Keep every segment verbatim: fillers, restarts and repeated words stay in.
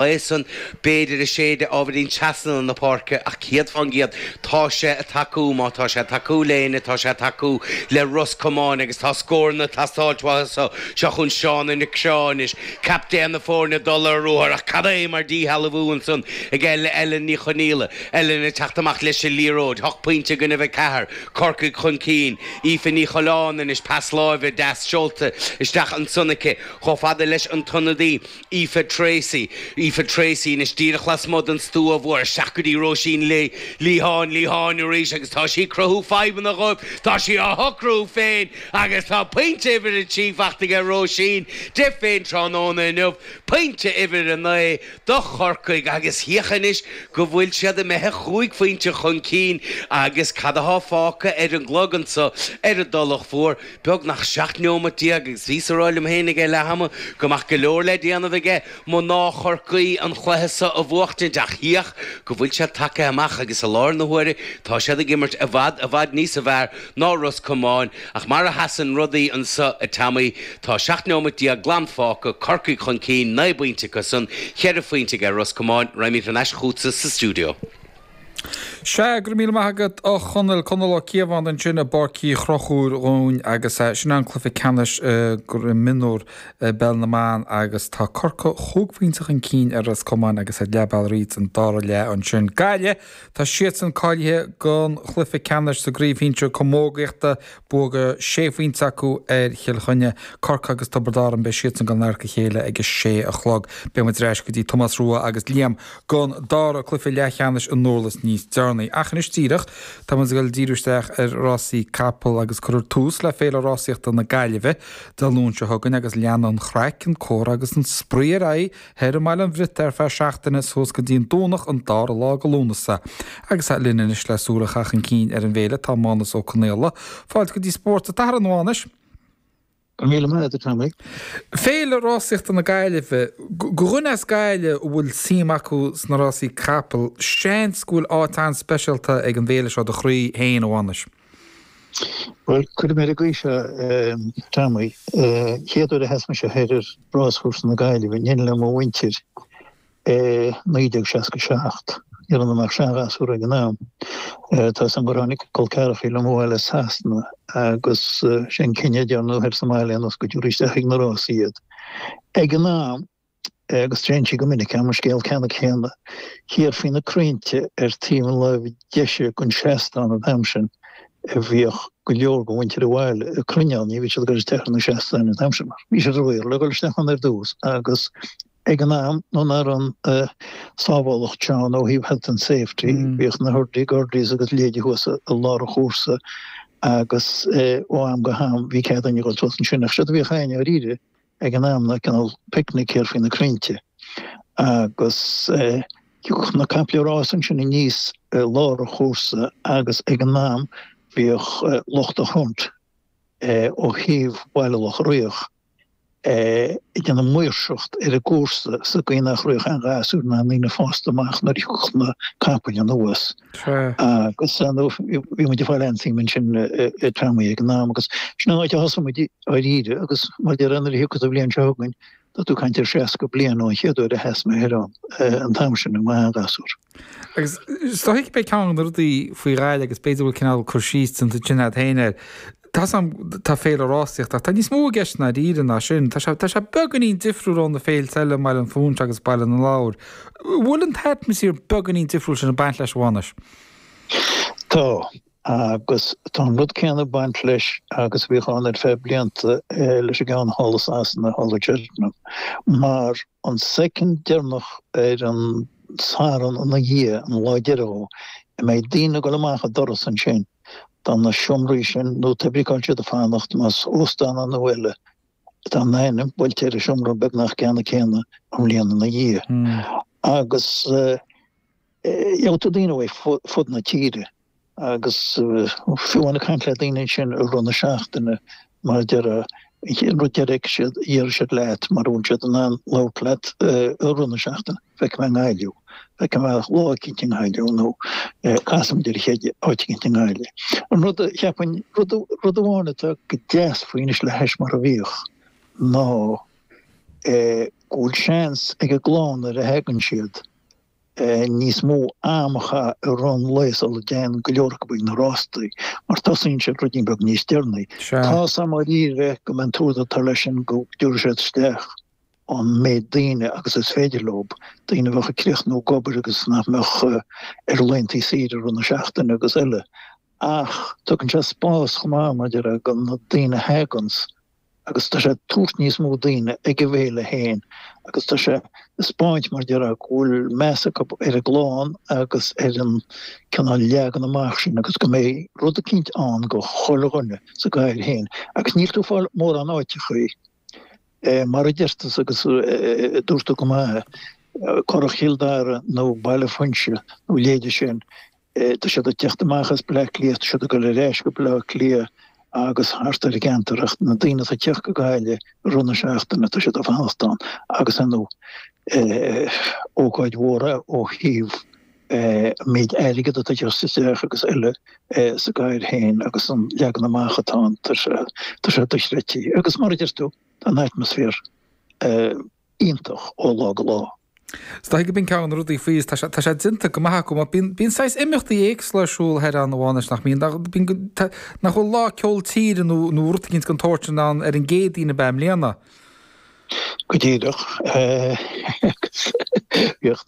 San b'fhéidir ag séideadh ábhairín trasna na páirce ach céad fán gcéad tá sé ag tacú má tá sé ag tacú le éinne tá sé ag tacú le Ros Comáin agus tá scóranna ag teastáilt uathu so seo chugainn Shauna Nic Seáin anois captaen na foirne ag dul ar ruathar ach cad é mar díshealbhú ansan ag Ellen Ní Chonaola Ellen ag teacht amach leis an liathróid hocht pointe i gcoinnibh a ceathair Corcaigh chun cinn Aoife Ní Choileáin anois pas láimhe deas seolta isteach ansan aici chomh fada leis an t-ionadaí Aoife Tracey, Aoife Tracey anois díreach lasmuigh den stua mhór, isteach go dtí Róisín Ní Liatháin, Liatháin arís agus tá sí ag cruthú fadhbanna dhóibh, tá sí á shocrú féin agus tá pointe uimhir a trí faighte aige Róisín di féin tráthnóna inniu, pointe uimhir a naoi do Chorcaigh agus féach anois go bhfuil siad imithe chúig phointe chun cinn agus cad athá fágtha ar an gclog anso ar an dTulach Mhór? Beagnach seacht neomat déag agus bhíos a rá liom féin ag leath ama go mbeadh go leor le déanamh aige mná Chorcaí an chluiche so a bhuachtaint ach féach go bhfuil siad tagtha amach agus i láthair na huaire tá siad ag imirt i bhfad i bhfad níosa bhfearr ná Ros Comáin ach mar a sheasann rudaí anso a Tommy tá seacht neomat déag glan fágtha, Corcaigh chun cinn, naoi bpointe acu san, cheithre phointe aige Ros Comáin, raghaimid thar n-ais chughatsa sa stiúideo. Sea, go raibh míle maith agat a Chonaill, Conall Ó Cíobháin ansin i bPáirc Uí Chonchúir dhúinn agus sin an cluiche ceannais mionúr i bPeil na mBan agus tá Corcaigh chúig phointe chun cinn ar Ros Comáin agus ar leath bealaigh thríd an dara leath ansin. Gaillimh, tá siadsan cáilithe don chluiche ceannais sa gcraobh shinsir camógaíochta, bua sé phointe acu ar Chill Chainnigh, Corcaigh agus Tiobraid Árann, beidh siadsan ag dul in adharca a chéile ag a sé a chlog. Beidh muid ar ais go dtí Tomás Rua agus Liam don dara cluiche leathcheannais i nDurlas níos deireanaí. Ach anois díreach, tá muid ag dul díriú isteach ar rásaí capall agus cuirfear tús le Féile Rásaíochta na Gaillimhe Dé Luain seo chugainn agus leanfaidh an chraic, an comhrá agus an spraoi ar aghaidh thoir i mBaile an Bhriotaigh ar feadh seachtaine suas go dtí an Domhnach an dara lá de Lúnasa. Agus linn anois le súil a chaitheamh chun cinn ar an bhféile tá Mánus Ó Conaola. Fáilte go dtí Spórt an tSathairn, a Mhánais. Go raibh míle maith agat, a Tommy. Féile Rásaíochta na Gaillimhe, Do dhuine as Gaillimh a bhfuil suim acu sna rásaí capall, seans go bhfuil áit an-speisialta ag an bhféile seo i do chroí féin, a Mhánais. Bhuel, cuirfidh mé ar an gcaoi seo, a Tommy. Chéad uair a sheas mise thoir ar ráschúrsa na Gaillimhe, in éindí le mo mhuintir, i naoi déag seasca seacht. Ní raibh ionam ach seanghasúr ag an am. Tá 'fhios a'm gur tháinig col ceathracha liom abhaile as Sasana agus sé an cinneadh a dearnadh thoir sa mbaile ná go dtabharfaí isteach ag na rásaí iad. Ag an am, agus téann sí go minic agam an scéal ceannann céanna, thiar faoi na crainnte ar taobh na láimhe deise den seastán an t-am sin a bhíodh go leor de mhuintir an bhaile ag cruinniú, ní bhíodh siad ag dul isteach ar na seastáin an t-am sin mar bhí siad ródhaor le dhul isteach ann ar dtús agus Ag an am, nuair nach raibh an sábhálacht seo ann ó thaobh health and safety, bhíodh na hurdy gurdies agus leithéidí thuas i lár an chúrsa agus ó am go ham bhí cead againn a dhul suas ansin. Ach séard a bhíodh againn dáiríre ag an am ná cineál picnic thiar faoi na crainnte agus thiocfadh na caiple rása ansin aníos i lár an chúrsa agus ag an am bhíodh lucht an hunt ó thaobh Bhaile Locha Riach ag déanamh maoirseacht ar an gcúrsa sa gcaoi nach rachadh aon ghasúr ná aon daoine fásta amach nuair a thiocfadh na capaill anuas. Agus bhí muid ag fáil an-suim ansin a Tommy ag an am agus sin an áit a thosaigh muid dáiríre agus mar a déarfá nuair a thiocfas an bhliain seo chugainn tá tú ag caint ar seasca bliain ón chéad uair a sheas mé thoir ann an t-am sin i mo sheanghasúr. Agus is dóigh gurb é ceann de na rudaí faoi Ghaillimh agus b'fhéidir go bhfuil cineál cur síos déanta ansin agat féin air, tá 's a'm tá féile rásaíochta ach tá níos mó i gceist i ndáiríre ná sin. Tá sé tá sé beagáinín difriúil ó na féilte eile i mBaile an Phúinse agus Baile na Lobhar. An bhfuil an t-atmaisféar beagáinín difriúil sin ag baint leis, a Mhánais? Tá, agus tá an rud céanna ag baint leis agus a bhíodh ann ar feadh blianta leis an gceann thall i Sasana, thall i Cheltenham, mar an soicind deireanach ar an Satharn ina dhiaidh, an lá deiridh dhó, a mbeidh daoine ag dul amach an doras ansin do na seomraí sin nó pé ar bith cá bhfuil siad ag fanacht, más óstán é nó eile, tá a n-ainm buailte ar an seomra beagnach ceannann céanna an bhliain ina dhiaidh. Agus gheobhaidh tú daoine ó fud na tíre agus fiú amháin ag caint le daoine ansin i rith na seachtaine mar a déarfá, an rud deiridh a siad, a déarfaidh siad leat mura bhfuil siad in ann labhairt leat i rith na seachtaine, feicfidh mé i nGaillimh thú, feicfidh mé lá eicínt i nGaillimh nó casfaimid ar a chéile áit eicínt i nGaillimh. An rud a cheapfainn, rud, rud amháin atá go deas faoi anois le hais mar a bhíodh ná go bhfuil seans ag an gclann nuair a thagann siad níos mó am a chaitheamh i rith an lae sula dtéann go leor acu ag na rástaí, mar tosaíonn siad ruidín beag níos deireanaí. Sea. Tá 's a'm dháiríre go mbeidh an t-údar atá leis sin go dtabharfaidh siad isteach an méid daoine agus is féidir leo, daoine a bheadh ag críochnú ag obair agus nach mbeadh ar laethanta saoire i rith na seachtaine agus eile. Ach tugann sé spás chomh maith, mar a déarfá, do na daoine a thaganns agus tá sé ag tabhairt níos mó daoine ag an bhféile féin agus tá sé ag 'speáint, mar a déarfá, go bhfuil meas acu ar an gclann agus ar an cineál leagan amach sin agus go mbeidh rud eicínt ann go chuile dhuine sa gcathair féin. Agus níl tú ag fáil mórán áiteachaí, mar a deir tusa agus dúirt tú go maith, Currach Chill Dara nó Baile Fuinse nó a leithéide sin, Tá siad ag teacht amach as Bleá Cliath, tá siad ag dul ar ais go Bleá Cliath agus thart ar an gceantar ach na daoine atá ag teacht go Gaillimh i rith na seachtaine, tá siad ag fanacht ann agus ar ndóigh ócáid mhór é ó thaobh an méid airgead atá ag teacht isteach agus eile sa gcathair féin agus an leagan amach atá ann, tá sé dochreidte. Agus mar a deir tú, tá an atmaisféar iontach ó lá go lá. Is dóigh go b'in ceann de na rudaí faoi, tá sé, tá sé déanta go maith acu, mar bíonn, bíonn saghas imeachtaí éagsúla ar siúl thoir ann amháin anois, nach mbíonn, nach, bíonn go, tá, nach bhfuil lá ceol tíre nó, nó rud eicínt den tsórt sin ann ar an gCéadaoin ab ea i mbliana? Go díreach. Agus bhíodh,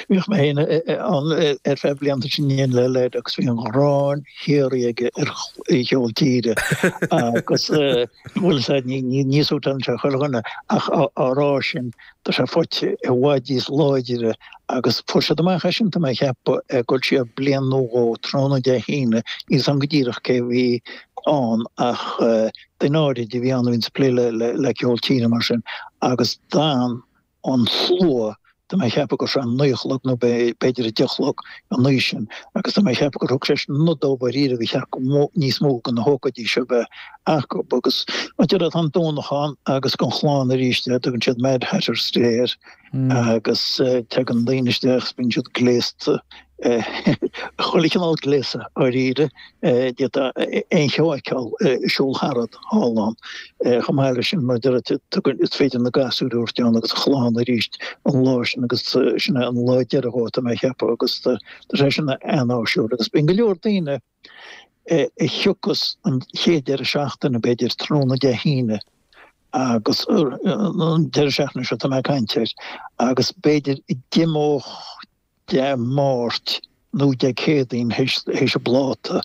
bhíodh mé féin ann ar feadh blianta sin in éindí le leaid agus bhí an ghráin shíoraí aige ar cheol tíre agus bhuel is ea, ní, ní, ní suiteálann sé chuile dhuine ach á, á rá sin, Tá sé faighte i bhfad níos láidre agus fuair siad amach é sin, tá mé a cheapadh, ag dul siar bliain nó dhó, tráthnóna Dé hAoine, níl 's a'm go díreach cé a bhí ann ach duine áirid a bhí ann a bhíonns ag plé le ceol tíre mar sin agus d'fhan an slua, tá mé a cheapadh go raibh sé a naoi a chlog nó b'fhéidir a deich a chlog an oíche sin agus tá mé a cheapadh gur thug sé sin nod dóibh dháiríre gur cheart go níos mó de na hócáidí seo a bheith acu agus mar a déarfá tá an Domhnach ann agus don chlann arís tugann siad Mad Hatters Day air agus tagann daoine isteach is bíonn siad gléasta chuile chineál gléasadh dháiríre, d'fhéadfá aon cheo a fheiceáil ag siúl tharat thall ann. Chomh maith leis sin, mar a deir tú, is féidir na gasúir a thabhairt ann agus an chlann arís an lá sin agus sin é an lá deiridh dhó, tá mé a cheapadh, agus tá sé sin an-áisiúil. Agus bíonn go leor daoine a thiocfas an chéad deireadh seachtaine, b'fhéidir, tráthnóna Dé hAoine agus an deireadh seachtaine seo tá mé ag caint air, agus b'fhéidir a d'imeodh Dé Máirt nó Dé Céadaoin théis an bpláta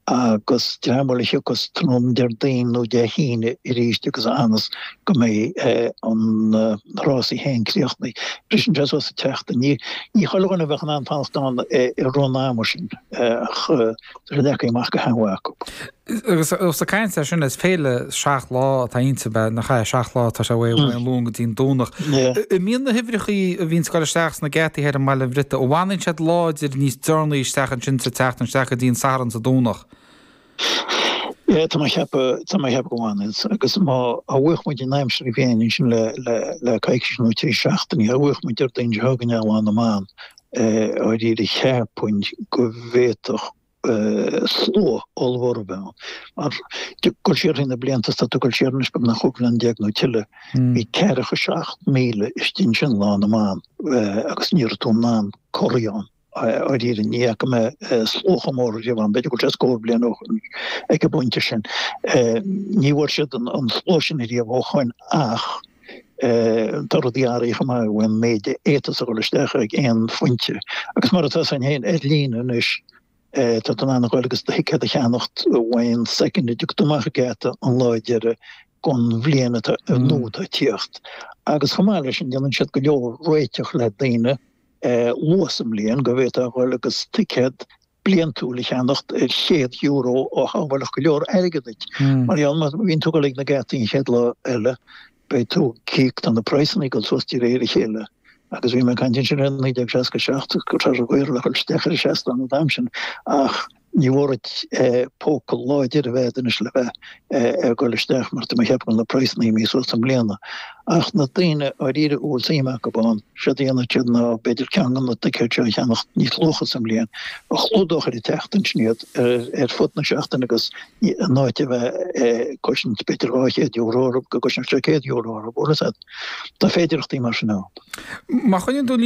agus dream eile a thiocfas tráthnóna Déardaoin nó Dé hAoine arís agus a fhanas go mbeidh an rásaí féin críochnaithe. Briseann sé suas sa tseachtain. Ní chuile dhuine a bheadh in ann fanacht ann i rith an ama sin ach tá sé leagtha amach go han-mhaith acu. Agus ós ag caint air sin, is féile seacht lá atá inti, ab ea? Nach ea? Seacht lá atá sé uaidh an Luan go dtí an Domhnach. An mbíonn na huimhreachaí a bhíonns ag dul isteach sna geataí thoir i mBaile an Bhriotaigh, an bhfanann siad láidir níos deireanaí isteach ansin sa tseachtain, isteach go dtí an Satharn is an Domhnach? Yeah, tá mé a cheapadh, tá mé a cheapadh go bhfanann. Agus má bhuafadh muid an aimsir féin ansin le, le, le coicís nó trí seachtainí, dá bhuafadh muid Déardaoin seo chugainn Lá na mBan, dáiríre cheapfainn go bhféadfadh slua ollmhór a bheith ann. Mar ag dul siar thrí na blianta, is tá tú ag dul siar anois beagnach chúig bhliain déag nó tuilleadh, bhí ceathracha seacht míle istigh ansin Lá na mBan agus ní raibh tú in ann corraí ann. Dáiríre, ní fhaca mé slua chomh mór riamh ann, b'fhéidir go bhfuil sé scór bliain ó shin ag an bpointe sin. Ní bhfuair siad an slua sin riamh ó shoin ach tá rudaí athraithe chomh maith ó an méid a fhéadfas a dhul isteach ag aon phointe. Agus mar atá san féin ar líne anois, Tá tú in ann a dhul agus do thicéad a cheannacht ón soicind a dtiocfaidh tú amach an geata an lá deiridh don bhliain atá nua atá ag tíocht. Agus chomh maith leis sin déanann siad go leor réiteach le daoine luath sa mbliain go bhféadfá a dhul agus ticéad bliantúil a cheannacht ar chéad euro a shábhálfadh go leor airgead duit. Mar gheall má bhíonn tú ag dul ag na geataí an chéad lá eile beidh tú ag íoc, tá na praghsanna ag dul suas de réir a chéile. Agus bhí mé ag caint ansin ar naoi déag seasca seacht, go raibh gaol le dhul isteach ar an seastán an t-am sin, ach Ní mór duit póca láidir a bheith agat anois le bheith ag dul isteach mar tá mé ag ceapadh go bhfuil na praghsanna imithe suas i mbliana. Ach na daoine dháiríre a bhfuil suim acu ann, séard a dhéanfaidh siad ná b'fhéidir ceann de na ticéid seo a cheannacht níos luaithe sa mbliain, a chlúdódh ar an tseachtain sin iad ar fud na seachtaine agus in áit a bheith ag cosaint b'fhéidir dhá chéad euro orthu go gcoisneodh sé céad euro orthu, bhfuil a fhios agat. Tá féidearthachtaí mar sin ann. Má choinníonn tú